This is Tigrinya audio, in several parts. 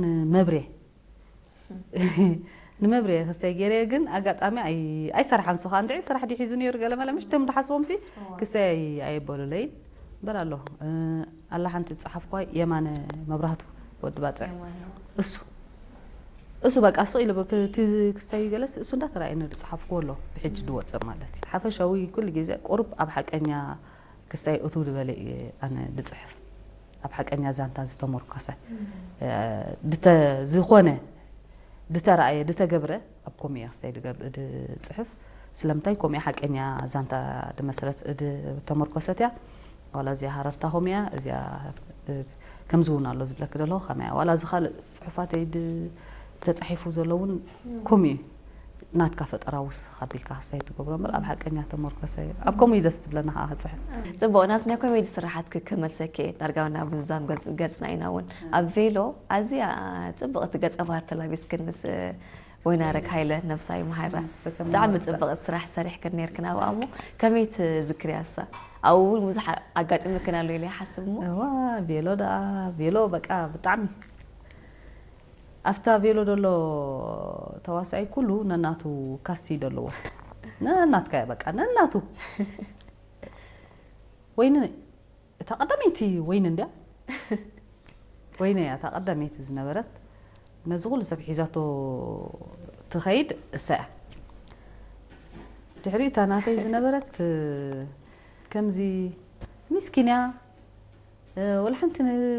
ንመብሬ ንመብሬ ክስተይ ገይረ ግን ኣጋጣሚ ኣይ ኣይሰርሓን። ሶኻ እንድዒ ስራሕ ድዩ ሒዙ ነይሩ ገለ መለ፣ ምሽ ቶም ድሓስቦም ሲ ክስተይ ኣይ ኣይበሉለይን። እምበር ኣሎ ኣላ ሓንቲ ዝጸሓፍኳ የማነ መብራህቱ ወዲ ባጽዕ፣ እሱ እሱ በቃ ስቕ ኢሉ እቲ ክስተይ ገለስ እሱ እንዳተራእየኒ ዝጸሓፍኩዎ ኣሎ። ብሕጂ ድወጽእ ማለት እዩ። ሓፈሻዊ ኩሉ ግዜ ቁሩብ ኣብ ሓቀኛ ክስታይ እቱ ዝበለ እየ ኣነ ድጽሕፍ። ኣብ ሓቀኛ ዛንታ ዝተመርኮሰ ዝኾነ ድተራእየ ድተገብረ ኣብ ኮሚያ ክስታይ ድጽሕፍ። ስለምንታይ ኮሚያ ሓቀኛ ዛንታ ድመስረት ድተመርኮሰት እያ። ዋላ እዚኣ ሃረርታ ኮሚያ እዚኣ ከምዚ እውን ኣሎ ዝብለክ ደለኹ ከመያ ዋላ እዚ ካልእ ጽሑፋተይ ተጻሒፉ ዘሎ እውን ኮሚዩ ናትካ ፈጠራ ውስኽ ኣቢልካ ክስታይ ትገብሮ እምበር ኣብ ሓቀኛ ተመርኮሰ እዩ። ኣብ ከምኡ እዩ ደስ ትብለና ከዓ ክፅሕፍ። ፅቡቕ፣ ናብቲ ናይ ኮሜዲ ስራሓት ክመልሰኪ እየ። ዳርጋ ናብ ምዝዛም ገጽና ኢና እውን። ኣብ ቬሎ ኣዝያ ፅብቕቲ ገጸ ባህር ተላቢስክን ምስ ወይናረግ ሃይለ ነብሳ ይምሃራ። ብጣዕሚ ፅብቕቲ ስራሕ ሰሪሕክን ነይርክን ኣብኣ እሞ ከመይ ትዝክርያ እሳ? ኣብኡ እውን ብዙሕ ኣጋጢምክን ኣሎ ኢለ ይሓስብ እሞ። እዋ ቬሎ ደኣ ቬሎ በቃ ብጣዕሚ ኣብታ ቬሎ ዘሎ ተዋሳኣይ ኩሉ ነናቱ ካስቲ ደለዎ። ነናትካ እያ በቃ ነናቱ። ወይኒ እታ ቀዳመይቲ ወይኒ እንድያ። ወይኒ እያ እታ ቀዳመይቲ ዝነበረት። ነዚ ኩሉ ሰብ ሒዛቶ ትኸይድ እሳ እያ። ድሕሪ እታ ናተይ ዝነበረት ከምዚ ሚስኪን እያ። ወላ ሓንቲ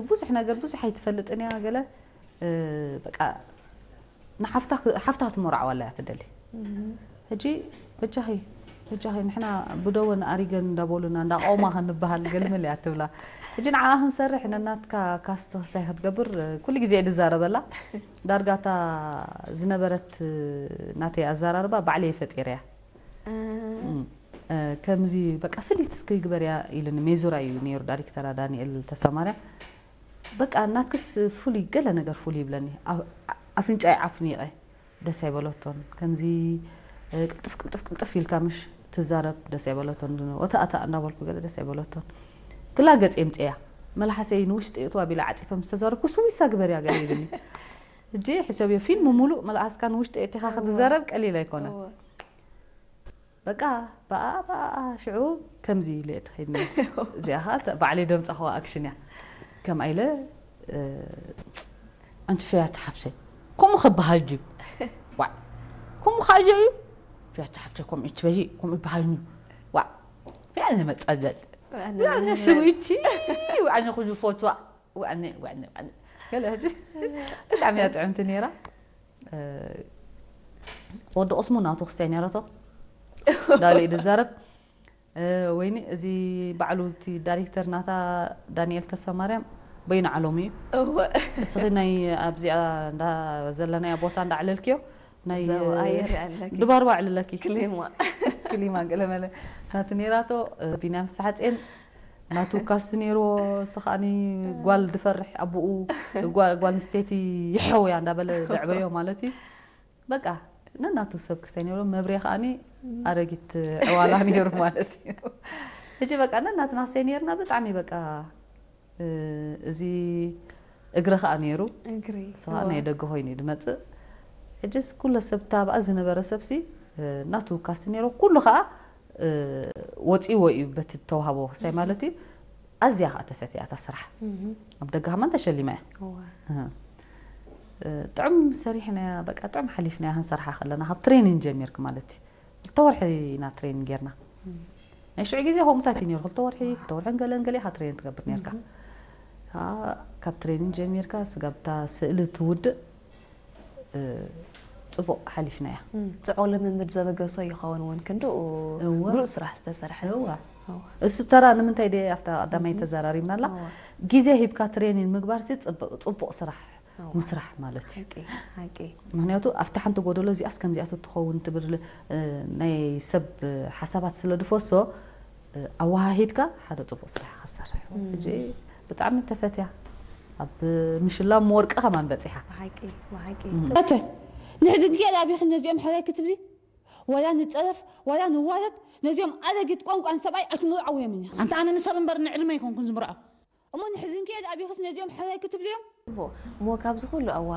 ብዙሕ ነገር ብዙሕ ኣይትፈልጥን እያ ገለ በቃ ንሓፍታ ሓፍታ ክትመርዓዋ እያ ትደሊ። ሕጂ በጃኺ በጃኺ ንሕና ብደወን ኣሪገን እንዳበሉና እንዳቆማ ክንበሃል ገልምል እያ ትብላ። ሕጂ ንዓኣ ክንሰርሕ ነናትካ ካስት ክስታይ ክትገብር ኩሉ ግዜ እየ ድዛረበላ። ዳርጋ እታ ዝነበረት ናተይ ኣዘራርባ ባዕለይ ፈጢረያ። ከምዚ በቃ ፍሊት እስኪ ግበርያ ኢሉኒ ሜዙራ እዩ ነይሩ ዳይሬክተራ ዳንኤል ተሰማርያ። በቃ ናትክስ ፍሉይ ገለ ነገር ፍሉይ ይብለኒ። ኣፍንጫይ ዓፍኒቐ ደስ ኣይበለቶን። ከምዚ ቅልጥፍ ቅልጥፍ ቅልጥፍ ኢልካ ምሽ ትዛረብ ደስ ኣይበለቶን። ወታእታእ እንዳበልኩ ገለ ደስ ኣይበለቶን። ክላ ገጽ የምጽያ መልሓሰይ ንውሽጢ እእትዋ ቢላ ዓጺፈ ምስ ተዛረብኩ ስዊሳ ግበርያ ገለ ይብልኒ። እጂ ሕሰብዮ ፊልም ሙሉእ መልኣስካ ንውሽጢ እእቲኻ ክትዛረብ ቀሊል ኣይኮነ። በቃ ብኣ ብኣ ሽዑ ከምዚ ኢለ እየ ተኸይድኒ። እዚኣ ኸዓ ባዕለይ ደምፃ ኸዋ ኣክሽን እያ። ከምኣ ኢለ ኣንቲ ፈያት ሓፍሰ ከምኡ ከበሃል ድዩ? ዋዕ ከምኡ ከዓ እዩ። ፈያት ሓፍሰ ከምኡ ትበሊ ከምኡ ይበሃል እዩ። ዋዕ ያነ መፀለል ያነ ሽዊቺ ያነ ኩሉ ፎቶ ዋዕኒ ዋዕኒ ዋዕኒ ገለ ሕጂ ብጣዕሚ እያ ጥዕምቲ ነይራ። ወዲ ቅስሙ ናቱ ክስታይ ነይረቶ ዳሊ ድዛረብ ወይኒ እዚ ባዕሉ እቲ ዳይሬክተር ናታ ዳንኤል ተሰማርያም በይኑ ዓለሙ እዩ። እስኺ ናይ ኣብዚኣ እንዳ ዘለናያ ቦታ እንዳዕለልክዮ ናይ ድባርባ ዕልለኪ ክሊማ ገለመለ ናቲ ነይራቶ። ቢንያም ሳሕጼን ናቱ ካስቲ ነይርዎ። እሱ ከዓኒ ጓል ድፈርሕ ኣቡኡ ጓል ንስተይቲ ይሐውያ እንዳበለ ዘዕበዮ ማለት እዩ። በቃ ነናቱ ሰብ ክሰይ ነይሩ። መብሬ ከዓኒ ኣረጊት ዕዋላ ነይሩ ማለት እዩ። ሕጂ በቃ ነናትና ክሰይ ነይርና ብጣዕሚ በቃ እዚ እግሪ ከኣ ነይሩ። እግሪ እሱ ከኣ ናይ ደገ ኮይኑ እዩ ድመፅእ። ሕጅስ ኩለ ሰብ እታ ኣብኣ ዝነበረ ሰብሲ ናቱ ካስቲ ነይሩ። ኩሉ ከኣ ወፂዎ እዩ በቲ ተዋህቦ ክስታይ ማለት እዩ። ኣዝያ ከኣ ተፈትያ እታ ስራሕ። ኣብ ደገ ከማን ተሸሊማ እያ። ጥዑም ሰሪሕናያ በቃ ጥዑም ሓሊፍናያ ክንሰርሓ ከለና ካብ ትሬኒን ጀሚርክ ማለት እዩ። ክልተ ወርሒ ኢና ትሬኒን ጌርና። ናይ ሽዑ ግዜ ከምኡታት እዩ ነይሩ። ክልተ ወርሒ፣ ክልተ ወርሕን ገለን ገለ ኢኻ ትሬኒን ትገብር ነይርካ። ካብ ትሬኒን ጀሚርካ ስጋብ እታ ስእሊ ትውድእ ፅቡቕ ሓሊፍናያ። ፅዑቕ ልምምድ ዘበገሶ ይኸውን እውን ክንድኡ እወ። ብሉፅ ስራሕ ዝተሰርሐ። እዋ። እሱ ተራ ንምንታይ ደ ኣብታ ቀዳማይ ተዘራሪብና ኣላ? እዋ። ግዜ ሂብካ ትሬኒን ምግባር ሲ ፅቡቕ ስራሕ ምስራሕ ማለት እዩ። ሓቂ ሓቂ። ምክንያቱ ኣብታ ሓንቲ ጎደሎ እዚኣስ ከምዚኣ ትኸውን ትብል ናይ ሰብ ሓሳባት ስለ ድፈሶ ኣወሃሂድካ ሓደ ፅቡቕ ስራሕ ኢኻ ትሰርሕ። ሕጂ ብጣዕሚ ተፈትያ ኣብ ምሽላም ወርቂ ከማን በፂሓ። ብሓቂ ብሓቂ። እተ ንሕዚ ግዜ ኣቢኺ ነዚኦም ሕራይ ክትብሊ ዋላ ንፀረፍ ዋላ ንዋረድ ነዚኦም ኣረጊት ቋንቋን ሰብኣይ ኣይትምርዓውዮምን ኢኺ። ኣንታ ኣነ ንሰብ እምበር ንዕድመ ኣይኮንኩን ዝምርዖ። እሞ ንሕዚ ግዜ ኣቢኺስ ነዚኦም ሕራይ ክትብልዮም? እሞ ካብዚ ኩሉ ኣዋ